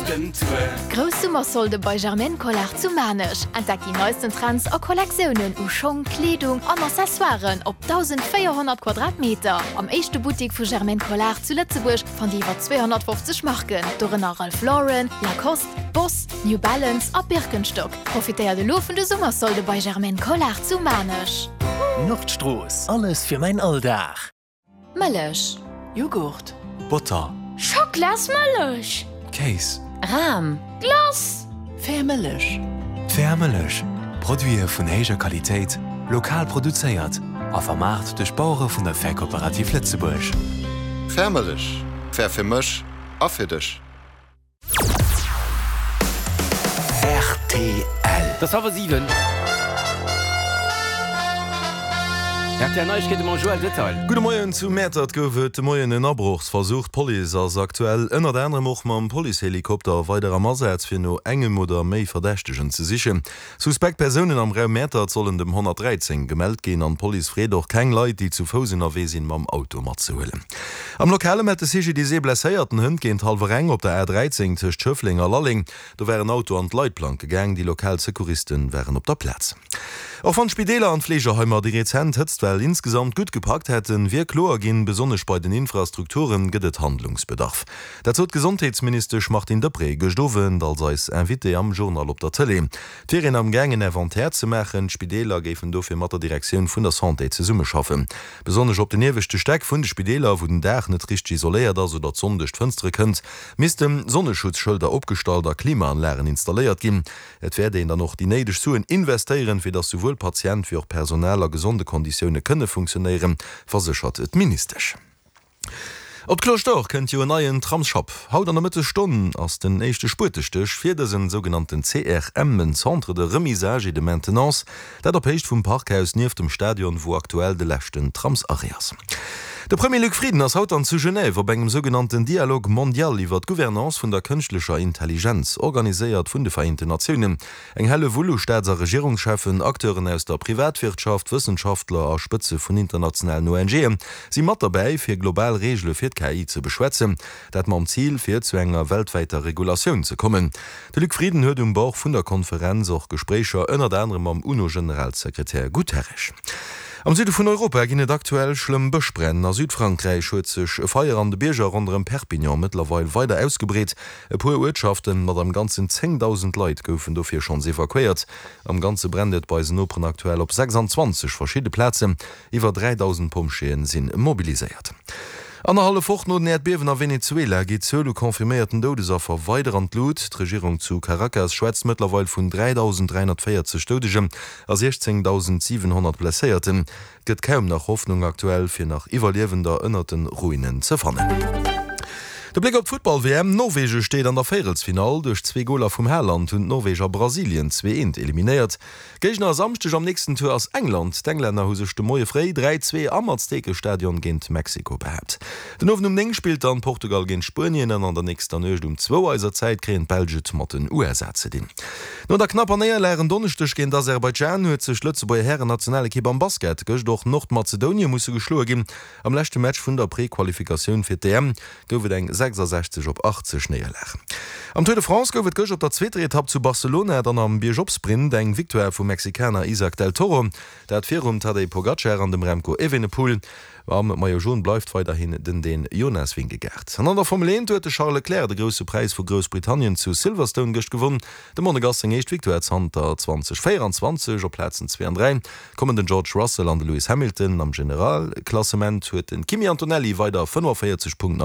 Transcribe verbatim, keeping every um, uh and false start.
den Tour. Grouss Summersolde bei Germaine Collard zu Maarnech. Entdeckt déi neisten Trends a Kollektiounen u Schong, Kleedung an Accessoiren op dausendvéierhonnert Quadratmeter. Am éischte Buttek vu Germaine Collard zu Lëtzebuerg fannt Dir iwwer zweehonnertfofzeg Marken, dorënner Ralph Lauren, Lacoste, Boss, New Balance a Birkenstock. Profitéiert elo vun de Summersolde bei Germaine Collard zu Maarnech. Nordstrooss, alles fir mäin Alldag. Mëllech. Jughurt. Botter. Schocklasmëllech. Kéis. Ram. Glace. Fair Mëllech. Fair Mëllech, Produite vun héijer Qualitéit, lokal produzéiert a vermaart duerch d'Bauere vun der Fair Kooperativ Lëtzebuerg. Fair Mëllech, fair fir mech a fir dech. Rtl. Et ass hallwer siwen. R T L Neiegkeete mam Joël Detail. Gudde Moien, Zu Mäertert gouf et de Moien en Abrochsversuch. D'Police ass aktuell ënnert anerem och mam Policehelikopter weider am Asaz, fir no engem oder méi Verdächtegen ze sichen. Suspekt Persounen am Raum Mäertert sollen dem honnertdräizéng gemellt ginn an d'Police freet och, keng Leit, déi zu Fouss ënnerwee sinn, mam Auto matzehuelen. Am Lokale mellt de C G D I S ee blesséierten Hënt géint hallwer eng op der A dräizéng tëscht Schëffleng a Lalleng. Do war en Auto an d'Leitplanke gaang. Déi lokal Secouriste waren op der Plaz. Och wann d'Spideeler an d'Fleegeheimer déi rezent Hëtztwell insgesamt gutt gepackt hätten, wier kloer ginn, besonnesch bei den Infrastrukture gëtt et Handlungsbedarf. Dat sot d'Gesondheetsministesch Martine Deprez gëscht Owend als eis Invitée am Journal op der Tëlee. Et wier een am Gaang en Inventaire ze maachen, d'Spideeler géifen dofir mat der Direktioun vun der Santé zesummeschaffen. Besonnesch op den ieweschte Stäck vun de Spideeler, wou den Daach net richteg isoléiert ass oder d'Sonn duerch d'Fënstere kënnt, misste Sonneschutzschëlder opgestallt a Klimaanlagen installéiert ginn. Et wäert een dann och déi néideg Suen investéieren, fir datt souwuel Patient wéi och Personal a gesonde Konditioune kënne funktionéieren, verséchert d'Ministesch. Op d'Cloche d'Or kënnt jo en neien Tramsschapp. Haut an der Mëttesstonn ass den éischte Spuetestéch fir dësen sougenannten C R M, en Centre de remisage et de maintenance, dat op Héicht vum Parkhaus nieft dem Stadion, wou aktuell de leschten Tramsarrêt ass. De Premier Luc Frieden ass haut dann zu Genève op engem sougenannten Dialogue mondial iwwer d'Gouvernance vun der kënschtlecher Intelligenz, organiséiert vun de Vereenten Natiounen. Eng Hellewull u Staats a Regierungscheffen, Acteuren aus der Privatwirtschaft, Wëssenschaftler a Spëtze vun internationalen O N G'en si mat derbäi, fir global Reegele fir d'K I ze beschwätzen. Dat mam Zil, fir zu enger weltwäiter Regulatioun ze kommen. De Luc Frieden huet um Bord vun der Konferenz och Gespréicher ënnert anerem mam UNO-Generalsekretär Guterres. Am Süde vun Europa ginn et aktuell schlëmm Bëschbränn. A Südfrankräich huet sech e Feier an de Bierger ronderëm Perpignan mëttlerweil weider ausgebreet. E puer Uertschaften mat am Ganzen zéngdausend Leit goufen dofir schonns evakuéiert. Am Ganze brennt et bei eisen Noperen aktuell op sechsanzwanzeg verschidde Plazen. Iwwer dräidausend Pompjeeë si mobiliséiert. Annerhallef Woch no den Äerdbiewen a Venezuela geet d'Zuel u confirméierten Doudesaffer weider an d'Lut. D'Regierung zu Caracas schwätzt mëttlerweil vun dräidausend dräihonnertvéierzeg Doudegen a siechzéngdausendsiwenhonnert Blesséierten. Et gëtt kaum nach Hoffnung aktuell, fir nach Iwwerliewender ënnert de Ruinen ze fannen. De Bléck op d'Futtball-W M, Norwegen steet an der Véierelsfinall. Duerch zwee Goler vum Haaland hunn d'Norweger Brasilien zwee eent eliminéiert. Géigner e Samschdeg am nächsten Tour ass England. D'Englänner hu sech de Moie fréi dräi zwee am Aztekestadion géint Mexiko behaapt. Den Owend um néng spillt dann Portugal géint Spuenien an an der nächster Nuecht um zwou eiser Zäit kréien d'Belsch et mat den U S A ze dinn. No der knapper Néierlag en Donneschdeg géint Aserbaidschan huet sech d'Lëtzebuerger Hären-Nationalekipp am Basket gëscht och Nordmazedonien musse geschloe ginn. Am leschte Match vun der Prequalifikatioun fir d'E M gouf et eng sechsasechzeg op achtzeg Néierlag. Am Tour de France gouf et gëscht op der zweeter Etapp zu Barcelona dann am Biergop-Sprint eng Victoire vum Mexikaner Isaac del Toro, dat virum Tadej Pogacar an dem Remco Evenepoel. Am Maillot Jaune bleift weiderhin den Dän Jonas Vingegaard. An an der Formel eent huet de Charles Leclerc de Grousse Präis vu Groussbritannien zu Silverstone gëscht gewonn. Dem Monegass seng éischt Victoire zanter zweedausendvéieranzwanzeg. Op Plazen zwee an dräi kommen den George Russell an de Lewis Hamilton. Am Generalklassement huet de Kimi Antonelli weider fënnefenvéierzeg Punkten.